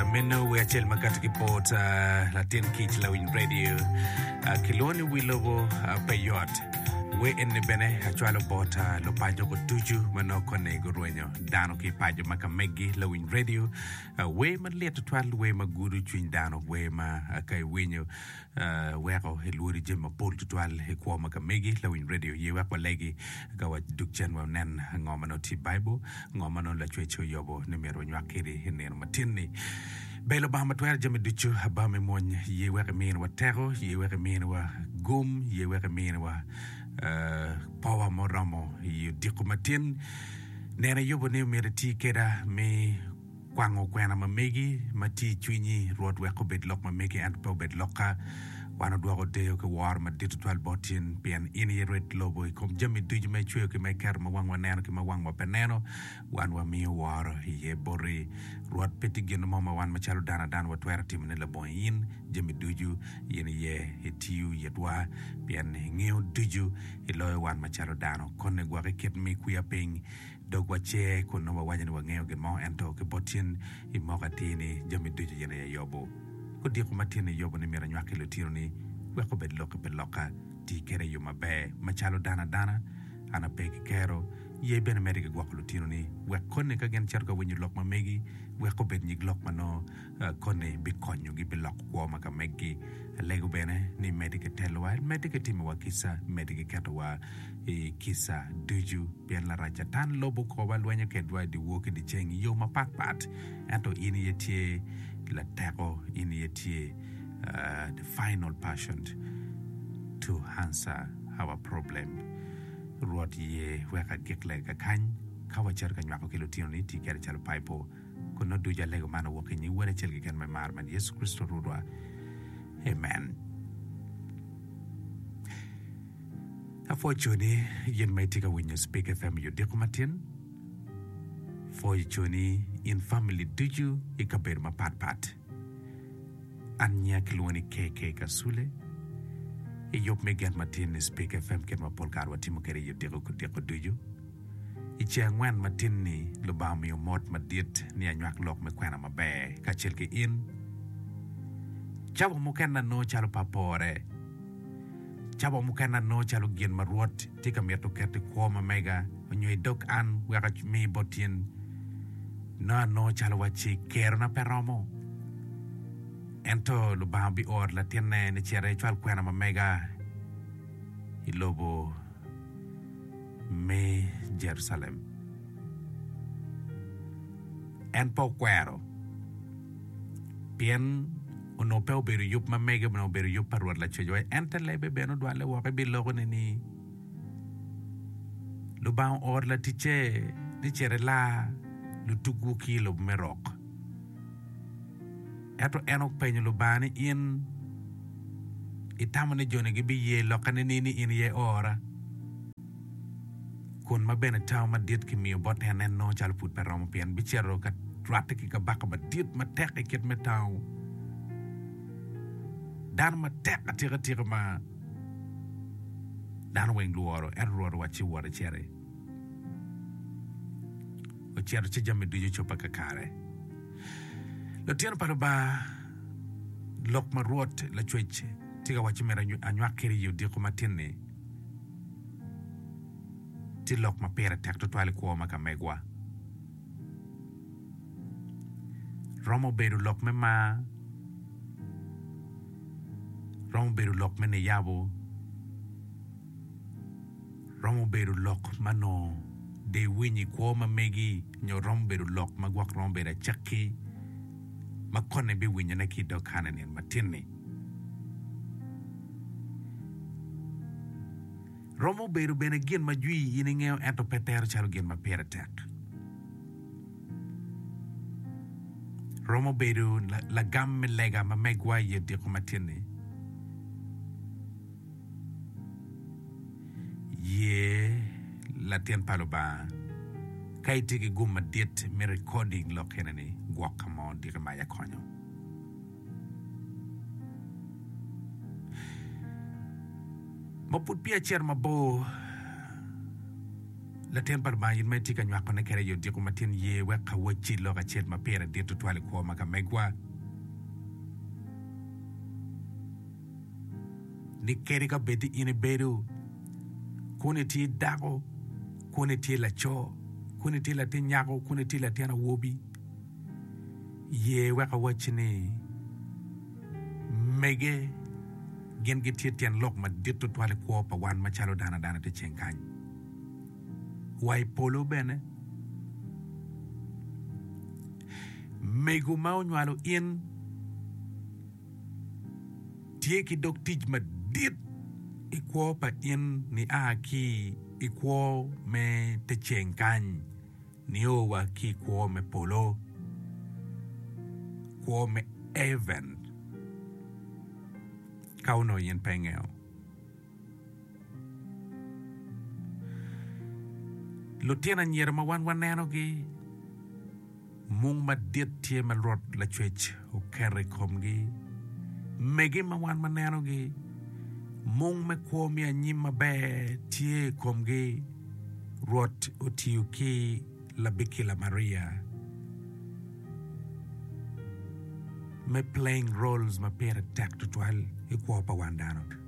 Meno wer acel ma kati ki bot latin kic lawiny radio kilwongo ni wi lobo pe yot. Wer eni bene acwalo bot lupaco ducu ma nongo koni gurwenyo dano ki i paco ma ka megi lawiny radio. Wer malit tutwal, wer ma gudo cwiny dano, wer ma ka iwinyo weko ilwori jami mapol tutwal i kwo ma ka megi. Lawiny redio, ye wek walegi ka wadug cen wanen ngo ma nongo tye i Baibul, ngo ma nongo Lacwec oyobo ni myero wanywak kedi i nino matin-ni. Ber Lubanga ma twero jami ducu, Aba me mwony, ye wek iminiwa teko, ye wek iminiwa gum, ye wek iminiwa power muromo i odiko matin. Neno iyubo ni myero iti keda me Kwango kwena ma megi ma tye i cwinyi, Rwot, wek obed lok ma megi ento pe obed lokka. Wan odwoko deyo ki woro madit twatwal bot in, pien in aye Rwed lobo i kom jami ducu ma icweyo ki ma iketo ma wangwa neno ki ma wangwa pe neno. Wan wamiyo woro iye boti, Rwot. Pe tye gin mo ma wan macalo dano adana watwero timone labongo in. Jami ducu in aye itiyo itwa, pien ingeyo ducu iloyo wan macalo dano. Koni gwok i kit me kwiya piny. Dogwa cer kun nongo wawaco ni wangeyo gin mo, ento ki bot cen imoko atir ni jami ducu in aye iyobo. Odiko ma tin iyobo ni myero anywak ki lutinoni wek obed lokki pe lokka. Ti kwede i yo maber. Macalo dano adana, an ape ki kero. Ye bene medde ki gwoko lutinoni wek koni ka gin cito ka winyo lok ma megi, wek obed nyig lok ma nongo koni bikonyogi, biloko kwo ma ka meggi. Alego bene ni imedde ki telowa, imedde ki timowa kica, imedde ki ketowa i kica ducu, pien Larac Catan lobo kowa lwenyo kedwa i dyewor ki dyeceng i yo mapatpat. Ento in aye tye lateko, in aye tye the final person to answer our problem. Rwot ye wek agik lega kakany ka wacito ka nywako ki lutinoni ti kede calo paipo. Kun nongo ducu alego man owok i nying Wod acel keken me mar ma en Yecu Kricito Rwotwa. Amen. Apwoyo coni gin ma itye ka winyo Speak FM i odiko matin. Pwoyo coni in family ducu i kabedo mapat pat. An nyinga kilwongo ni KK Kasule. I yub me gen matin i Speak FM kit ma pol kare watimo kwede i odiko ki odiko ducu. I ceng angwen matin-ni, Lubanga omiyo mot madit ni anywak lok me kwena maber kacel ki in. Cawa mukene anongo calo pe apore. Cawa mukene anongo calo gin ma Rwot tye ka mito keto i kwo ma mega nyo i dog an wek ami bot in, nongo anongo calo wacci kerona pe romo. Ento Lubanga bioro latinne ni cit ecwal kwena ma mega i lobo me Jerucalem. En pe okwero, pien onongo pe obedo yub ma mege, onongo obedo yub pa Rwot Lacwecwa. En te lebe bene odwalle woko, ebiloko-ni ni, Lubanga ooro laticce ni cit elar lutugwu ki i lobo me rok. Ento en openyo Lubanga ni, In itamo ni jo-ni gibiye lokka nining ni in aye iora? Kun ma bene tango madit kimiyo bot en, en nongo calo pud pe romo, pien bicito ka rwatte ki kabaka madit matek i kit me tango, dano matek atikatika ma dano weng lworo. Ento Rwot owacci, Wot iciti. Ocito ci jami ducu ocobbe kakare. Lutino pa Lubanga, lok ma Rwot Lacwec tye ka wacci myero anywak kwede i odiko matin-ni tye lok ma pire tek tutwal i kwo ma ka megwa. Romo bedo lok me mar, romo bedo lok me niyabo, Romo bedo lok ma nongo dong iwinyo i kwo ma megi nyo romo bedo lok ma gwok romo bedo acakki ma koni ibiwinyone ki i dog kana i nino matin-ni. Romo bedo bene gin ma jwi in ingeyo ento pe tero calo gin ma pire tek. Romo bedo lagam me lega ma megwa i odiko matin-ni. Ye latin pa Lubanga. Ka itye ki gum madit me recording lok ene ni gwok ka mo diki mac akonyo. Ma pud peya acito mabor. Latin pa Lubanga in ma itye ka nywakone kwede i odiko matin ye wek awacci lok acel ma pire dit tutwal i kwo ma ka megwa. Ni kadi ka bed ni in ibedo kun itye dako, kun itye laco, kun itye latin nyako, kun itye latin awobi, ye wek awacci ni mege gin gitye tyen lok madit tutwal i kwo pa wan macalo dano adana te ceng kany. Wa i polo bene. Mego ma onywalo in tye ki dog tic madit i kwo pa in nia ki i kwo me te ceng kany nio wa ki i kwo me polo, kwo me heaven ka onongo in pe ingeyo. Lutino anyira ma wan wanenogi, mung madit tye ma Rwot Lacwec oketo i komgi. Mege ma wan wanenogi, mung me kwo me anyim maber tye i komgi. Rwot otiyo ki labikila Maria me playing roles ma pire tek tutwal i kwo pa wan dano.